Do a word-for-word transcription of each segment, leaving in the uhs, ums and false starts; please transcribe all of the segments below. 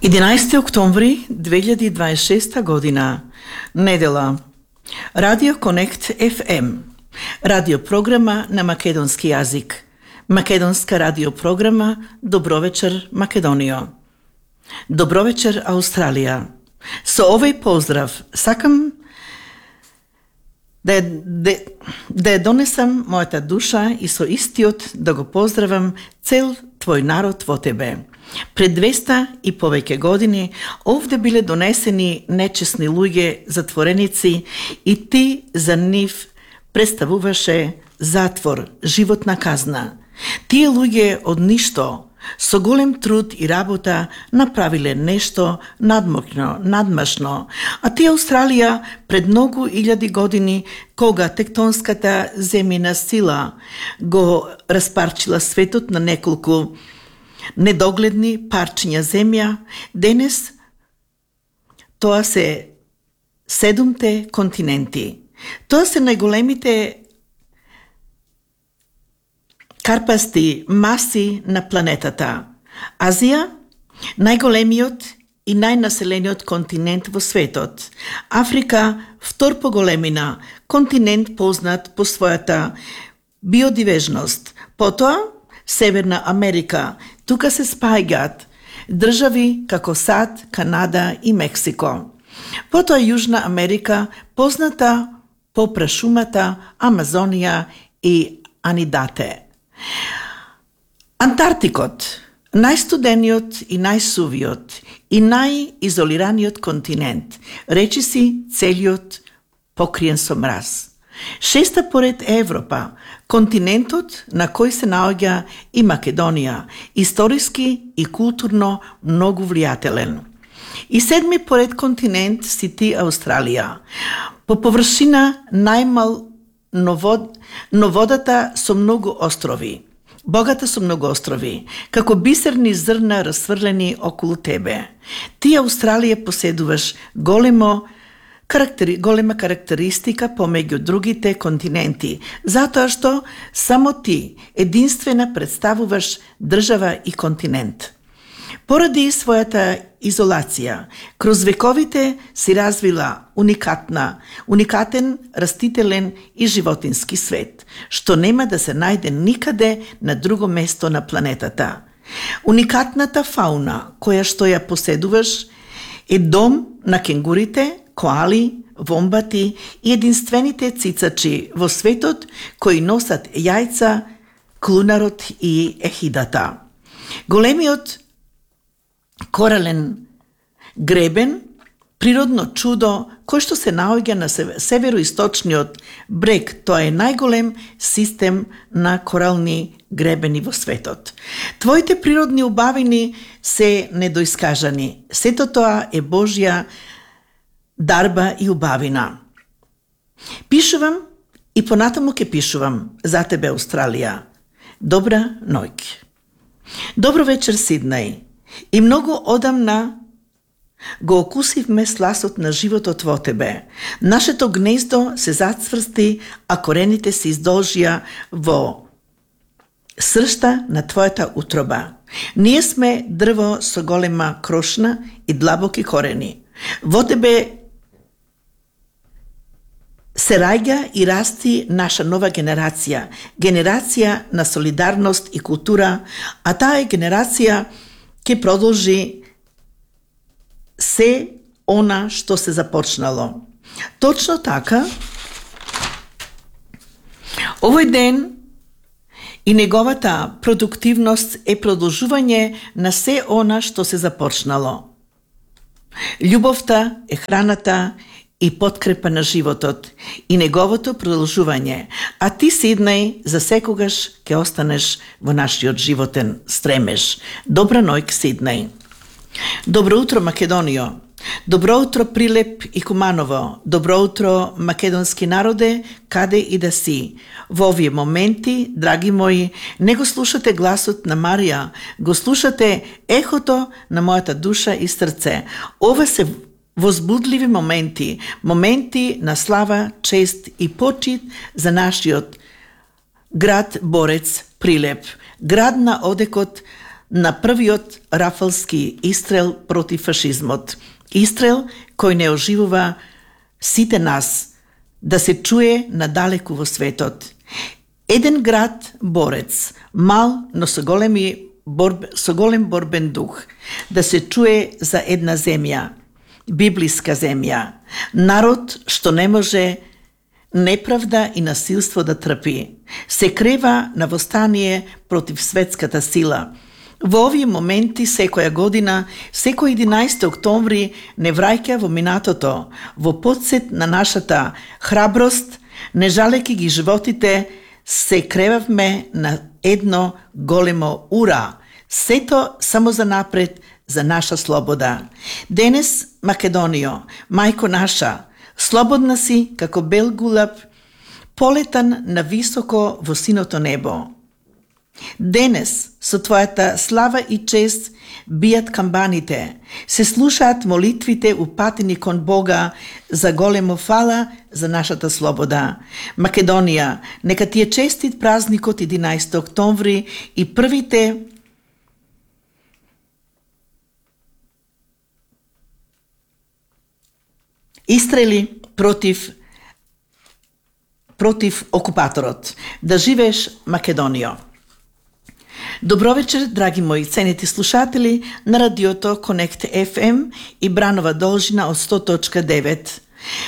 единаесети октомври две илјади и дваесет и шеста година, недела. Радио Конект еф ем, радиопрограма на македонски јазик. Македонска радиопрограма Добро вечер Македонијо. Добро вечер Аустралија. Со овој поздрав сакам да ја, да, да ја донесам мојата душа и со истиот да го поздравам цел твој народ во тебе. Пред двеста и повеќе години овде биле донесени нечесни луѓе, затвореници, и ти за нив представуваше затвор, животна казна. Тие луѓе од ништо, со голем труд и работа, направиле нешто надмокно, надмашно, а тие Австралија пред многу илјади години, кога тектонската земјина сила го распарчила светот на неколку недогледни парчиња земја, денес тоа се седумте континенти. Тоа се најголемите карпасти маси на планетата. Азија, најголемиот и најнаселениот континент во светот. Африка, втор по големина, континент познат по својата биодивежност. Потоа, Северна Америка, тука се спаѓаат држави како САД, Канада и Мексико. Потоа Јужна Америка, позната по прашумата Амазонија и Анидате. Антарктикот, најстудениот и најсувиот и најизолираниот континент, речиси целиот покриен со мраз. Шеста поред Европа, континентот на кој се наоѓа и Македонија, историски и културно многу влијателен. И седми поред континент си ти Австралија, по површина најмал, но, вод, но водата со многу острови, богата со многу острови, како бисерни зрна расфрлени околу тебе. Ти Австралија поседуваш големо Карактери, голема карактеристика помеѓу другите континенти, затоа што само ти единствена представуваш држава и континент. Поради својата изолација, кроз вековите си развила уникатна, уникатен растителен и животински свет, што нема да се најде никаде на друго место на планетата. Уникатната фауна, која што ја поседуваш, е дом на кенгурите, коали, вомбати и единствените цицачи во светот кои носат јајца, клунарот и ехидата. Големиот корален гребен, природно чудо кој што се наоѓа на североисточниот брег, тоа е најголем систем на корални гребени во светот. Твоите природни убавини се недоискажани. Сето тоа е Божја дарба и убавина. Пишувам и понатаму ке пишувам за тебе, Австралија. Добра ноќ. Добро вечер, Сиднеј. И многу одамна го окусивме сласот на животот во тебе. Нашето гнездо се зацврсти, а корените се издолжија во сршта на твојата утроба. Ние сме дрво со голема крошна и длабоки корени. Во тебе се раѓа и расти наша нова генерација, генерација на солидарност и култура, а таа генерација ќе продолжи се она што се започнало. Точно така, овој ден и неговата продуктивност е продолжување на се она што се започнало. Љубовта е храната и подкрепа на животот и неговото продолжување, а ти, Сиднеј, за секогаш ќе останеш во нашиот животен стремеж. Добра ноќ, Сиднеј. Добро утро, Македонијо. Добро утро, Прилеп и Куманово. Добро утро, македонски народе, каде и да си. Во овие моменти, драги мои, не го слушате гласот на Марија, го слушате ехото на мојата душа и срце. Ова се возбудливи моменти, моменти на слава, чест и почит за нашиот град борец Прилеп, град на одекот на првиот рафалски истрел против фашизмот. Истрел кој не оживува сите нас да се чуе надалеку во светот. Еден град борец, мал, но со големи борб, со голем борбен дух, да се чуе за една земја, библиска земја, народ што не може неправда и насилство да трпи, се крева на востание против светската сила. Во овие моменти секоја година, секој единаесети октомври не враќа во минатото, во потсет на нашата храброст, не жалеки ги животите, се кревавме на едно големо ура, сето само за напред, за наша слобода. Денес, Македонијо, мајко наша, слободна си како бел гулаб, полетан на високо во синото небо. Денес, со твојата слава и чест, бијат камбаните, се слушаат молитвите упатени кон Бога за големо фала за нашата слобода. Македонија, нека ти е честит празникот единаесети октомври и првите истрели против против окупаторот. Да живееш, Македонијо! Добро вечер, драги мои ценети слушатели на радиото Connect еф ем и Бранова должина од сто точка девет.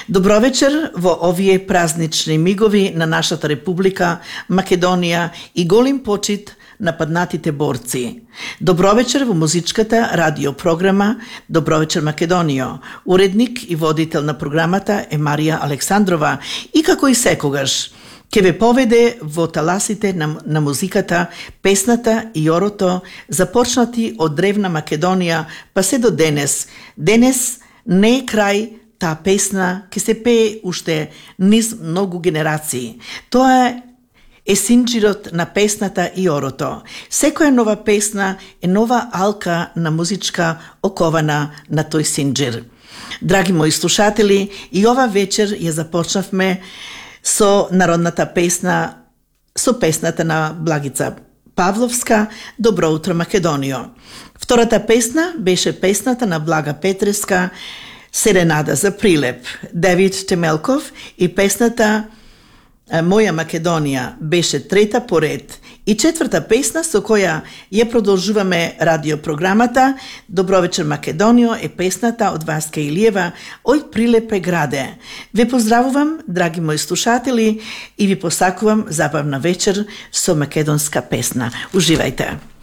Добро вечер во овие празнични мигови на нашата република Македонија и голем почит на паднатите борци. Добро вечер во музичката радиопрограма Добро вечер Македонијо. Уредник и водител на програмата е Марија Александрова и како и секогаш ке ве поведе во таласите на, на музиката, песната и орото, започнати од древна Македонија, па се до денес. Денес не е крај таа песна, ке се пее уште низ многу генерации. Тоа е синџирот на песната и орото. Секоја нова песна е нова алка на музичка окована на тој синџир. Драги мои слушатели, и ова вечер ја започнавме со народната песна, со песната на Благица Павловска Добро утро Македонијо. Втората песна беше песната на Блага Петреска Серенада за прилеп, Давид Темелков, и песната Моја Македонија беше трета поред. И четврта песна со која ја продолжуваме радиопрограмата Добро вечер Македонијо е песната од Васка Илиева Ој прилепе граде. Ве поздравувам, драги мои слушатели, и ви посакувам забавна вечер со македонска песна. Уживајте!